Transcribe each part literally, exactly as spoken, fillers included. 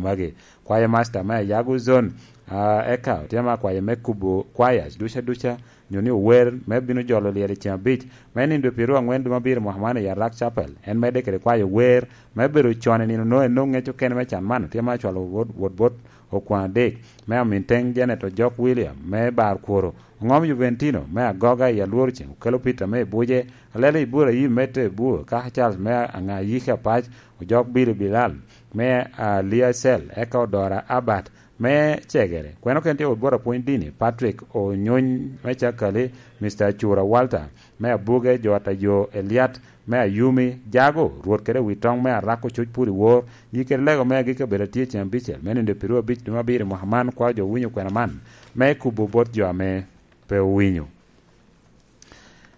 magi. Kwayo master me Ayago Zone, ah, eka otye ma kwayo me kubo kwaya duca duca, nyo ni ower me bino jolo lyel i ceng abic me nindo pyeraryo angwen dwe abiro mwaka man i Arak Chapel. En medde kede kwayo wer me bedo con i nino no, ennoŋ ŋec okene me can man, otye ma cwalo wot, wot bot okwaŋ adek me Aminteng Janet Ojok William me Bar Kworo, Oŋom Juventino me Agoga i Alwor Ceng, Okelo Peter me Ebuje, Alele Iburayim me Tebur, Kaka Charles me Aŋayiki Apac, Ojok Billy Bilal me Aliacel, eka Odora Abat me Cegere. Kweno ken tye wot bot apwony dini, Patrick Onyony me Cakali, Mister Cura Walter me Abuge, jo Atayo Eliat me Ayumi, Jago, Rwot kede Witoŋ me Arako Cuc Pur i Wor, yi kede lego me agikki obedo atye cen abicel, me nindo pyeraryo abic dwe me abiro i mwaka man, kwao jo owinyo kwena man, me kubo bot jo ame pe owinyo.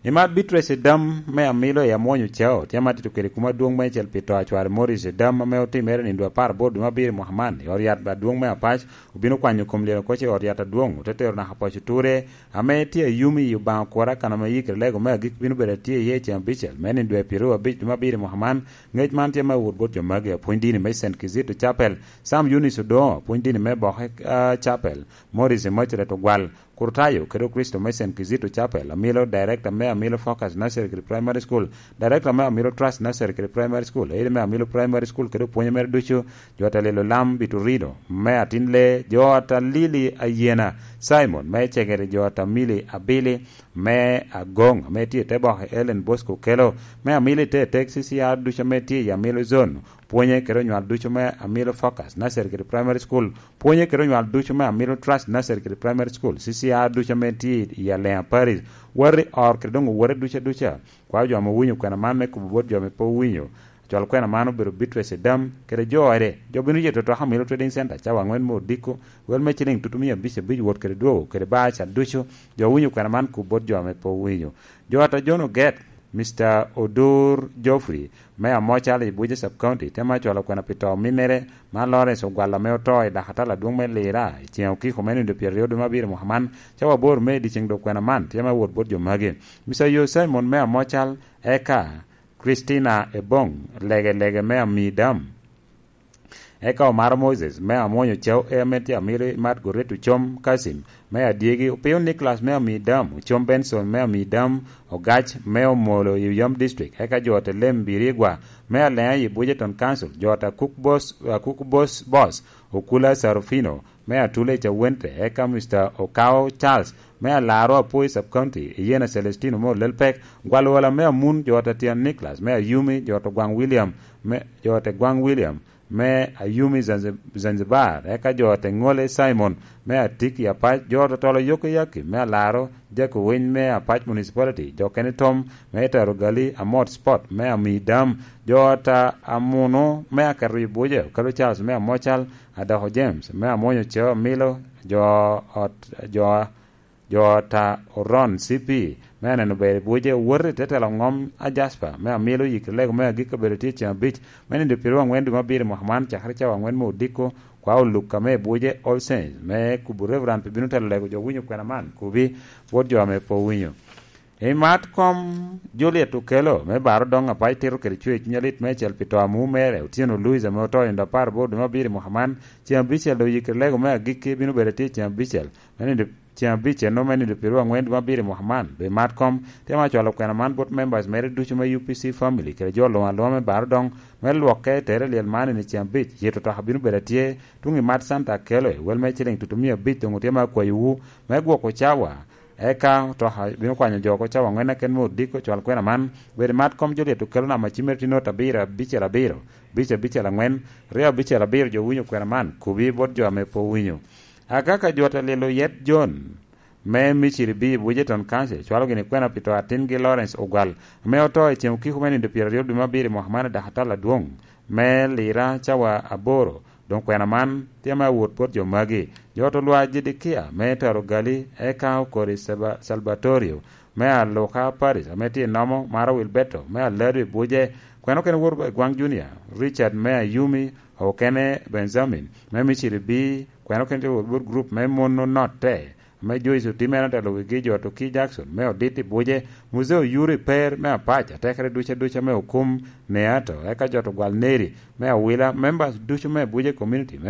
I mat Beatrice Edam me Amilo i Amwony Ocao, tye ma tito kede kuma dwoŋ meicel pi to a cware Morris Edam ame otimere nindo apar aboro dwe me abiro i mwaka man, i ot yat adwoŋ me Apac, obino kwanyo kom lyel okoc i ot yat adwoŋ, ote tero naka poco ture, ame tye ayumi i Obaŋa Kwora, kan ame yikere lego me agik bino bedo atye iye i ceng abicel, me nindo pyeraryo abic dwe me abiro i mwaka man. Ngec man tye me wot bot jo magi, apwony dini me Saint Kizito Chapel, Sam Eunice Odongo, apwony dini me Boke, ah, Chapel, Morris Emmaculet Ogwal, Kurtayo kede Okristo me Saint Kizito Chapel, Amilo, Director me Amilo Focus Nursery kede Primary School, Director me Amilo Trust Nursery kede Primary School, Aide me Amilo Primary School kede opwonye mere ducu, jo ata lelo lam Biturino me Atin Lee, jo ata Lili Ayena, Simon me Cegere, jo ata Mili Abili me Agong, ame tye i te boke Ellen Bosco Kelo, me Amilo i te tek C C R ducu ame tye i Amilo Zone, pwonye kede onywal ducu me Amilo Focus Nursery kede Primary School, pwonye kede onywal ducu me Amilo Trust Nursery kede Primary School, C C R ducu ame tye i Alea Parish, wati or kede doŋ owote duca duca. Kwao jo ame owinyo kwena man me kubo bot jo ame pe owinyo. Acwal kwena man obedo Beatrice Edam, kede jo ede, jo bino yeto toka Amilo Trading Center, cawa angwen me odiko, wel me ciling tutu mia abic abic wot kede dwogo, kede bar ca ducu, jo owinyo kwena man kubo bot jo ame pe owinyo. Jo ata John Oget, Mister Odur Geoffrey, me Amocal i Abuja Sub County, temo acwalo kwena pi to ominnere, ma Lawrence Ogwal ame oto i dakatala adwoŋ me Lira, i ceng okiko me nindo pyeraryo dwe me abiro mwaka man, cawa aboro me i dyeceŋ dok kwena man, tye me wot bot jo magi. Mister Yo Simon me Amocal, eka Christina Ebong, lege lege me Amidam. Eka Omaro Moses, me Amwony Ocau, ame tye Amili, Mat Goreto Ocom, Kasim, me Adyegi, Opio Nicholas, me Amidam, Ocom Benson, me Amidam, Ogac, me Omolo i Oyom District, eka jo ata Lem Birigwa, me Alea i Bujeton Council, jo ata Cook Boss, uh, Cook Boss, Boss, Okula Sarofino, me Atula i Cawente, eka Mister Okao Charles, me Alaro Apoi Sub County, Iyena Celestino, me Olelpek, Gwalwala, me Amun, jo ata Tian Nicholas, me Ayumi, jo ata Gwaŋ William, me, jo ata Gwaŋ William, me Ayumi Zanzi-, Zanzibar, eka jo ata Ŋole Simon, me Atik i Apac, jo ata Tolo Yoko Yaki, me Alaro, Jako Winy, me Apac Municipality, jo kene Tom, me Taro Gali, Amot Sport, me Amidam, jo ata Amuno, me Aketo i Buja, Okelo Charles, me Amocal, Adoko James, me Amwonyo Ceo Amilo, jo ot, jo, jo ata Oron C P, me Aneno Ber i Buja, Owoti, te telo ŋom a Jasper, me Amilo, yik lego me agikki obedo tye ceng abic, me nindo pyeraryo angwen dwe me abiro i mwaka man, cakere cawa angwen me odiko, kwa oluk ame i Buja, All Saints, me kubo Reverend pi bino telo lego jo winyo kwena man, kubi, bot jo ame pe owinyo. I mat kom Juliet Okelo, me Baro Doŋ Apac tito kede cwer cuny alit meicel pi to a mu mere, Otyeno Louis ame oto i nindo apar aboro dwe me abiro i mwaka man, ceng abicel doŋ oyikere lego me agikki bino bedo atye ceng abicel, me nindo ceng abicel no me nindo pyeraryo angwen dwe me abiro i mwaka man. Doŋ i mat kom, tye ma cwalo kwena man bot members mere ducu me U P C family kede jo luŋ aluŋa me Baro Doŋ, me lwokke tere lyel man i ceng abic, yeto toka bino bedo atye, tuŋ i mat Santa Akelo, i wel me ciling tutu mia abic doŋ otye ma akwayowu, me gwoko cawa, eka otoka bino kwanyo jo oko cawa angwen aken me odiko cwal kwena man, bedo i mat kom Juliet Okelo namba cimere tye nota abiro abicel abiro, abic abicel angwen, ryo abicel abiro jo winyo kwena man, kubi bot jo ame pe owinyo. Agaka jo ata lilo yet John, me Miciri bi i Bujeton Council, cwalo gini kwena pi to atingi Lawrence Ogwal, ame oto i ceng okiko me nindo pyeraryo dwe me abiro i mwaka man i dakatala adwoŋ, me Lira cawa aboro, Doŋ kwena man tye me awot bot jo magi, jo ot olwa Jedekia me Taro Gali, eka okori Seba-, Salbatorio me Aluka Paris ame tye i Nomo, Maro Wilberto me Alado i Buje, kwena okene wot i Gwaŋ Junior, Richard me Ayumi, okene Benjamin me Miciri bi, kwena okene tye wot bot grup me Mono Notte, ame Joyce Otimere otelo wigi, jo ot Oki Jackson me Odit i Buje, Muzee Oyuri Per me Apac, atekere duca duca me Okum Neato, eka jo ot Ogwal Neri me Awila, members ducu me Buje Community me